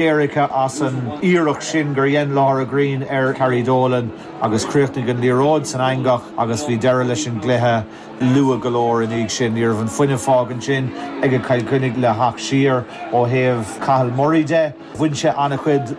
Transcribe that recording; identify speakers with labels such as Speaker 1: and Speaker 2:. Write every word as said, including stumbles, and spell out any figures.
Speaker 1: Éirice as an iarracht sin gur dhein Laura Green ar Carrie Dolan agus chríochnaigh an liathróid san eangach agus bhí deireadh leis an gcluiche luath go leor ina dhiaidh sin ní raibh an fuinneamh fágtha sin ag Cill Chainnigh le theacht siar ó thaobh Cathal Murray de. Bhain sé an-chuid